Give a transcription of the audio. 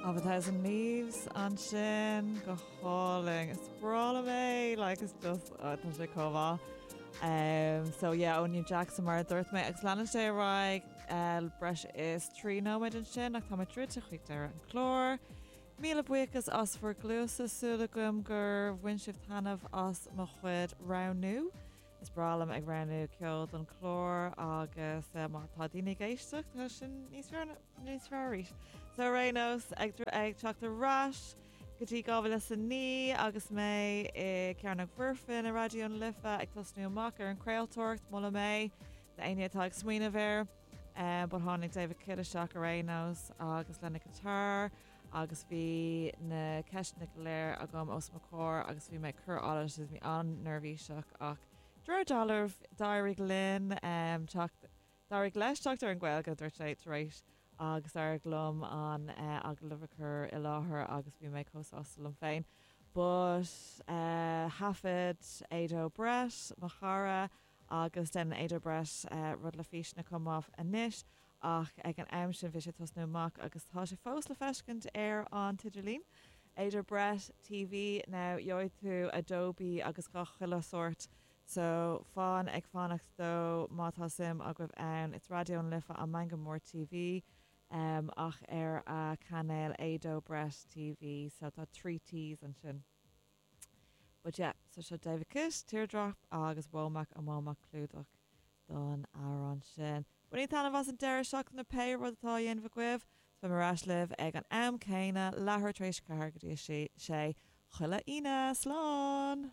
Of a Thousand Leaves ansin, go hálainn. Is breá liom é, like it's just, oh, tá sé chomh maith. Um, so yeah, ó New Jackson mar a dúirt mé, agus leanann sé ar aghaidh uh, breis is 3 nóiméad ansin ach tá mé druidte chuig deireadh an chláir. Míle buíochas as bhur gcluasa, súil agam gur bhain sibh taitneamh as mo chuid roghnú. Is breá liom ag roghnú ceol don chlár agus má tá daoine ag éisteacht tá sin níos fearr níos fearr arís. So ar aon nós ag ag teacht ar ais go dtí 2009 agus mé i Cearnóg Mhuirfean i Raidió na Life ag tosnú amach ar an craoltóireacht molaim é d'éinne atá ag smaoineamh air. But tháinig David Kitt isteach ar aon nós agus lena guitar agus bhí na ceisteanna go léir agam os mo chomhair agus bhí mé ag cur allais agus bhí an-neirbhíseach ach de réir dealraimh d'éirigh linn teacht, d'éirigh leis teacht ar an Ghaeilge, dúirt sé tar éis agus d'éirigh liom an agallamh a chur i láthair agus bhí mé chomh sásta liom féin. But thaifead Ado Brett, mo chara, agus déanann Ado Brett rud le físeanna chomh maith anois ach ag an am sin bhí sé ag tosnú amach agus tá sé fós le feiscint ar an t-idirlíon. Ado Brett TV now gheobhaidh tú Adobe agus gach chuile shórt so fan ag fanacht dó má tá suim agaibh ann. It's Raidió na Life on Meangadh Mór TV ach ar a cainéal Ado Brett TV so tá 3 T's ansin. But yeah, so seo David Kitt, Teardrop agus Womack and Womack clúdach don amhrán sin. Bainigí taitneamh as an deireadh seachtaine pé rud atá á dhéanamh agaibh. 's beidh mé ar ais libh ag an am céanna, leathuair tar éis a 4 go dtí a 6, chuile Aoine. Slán!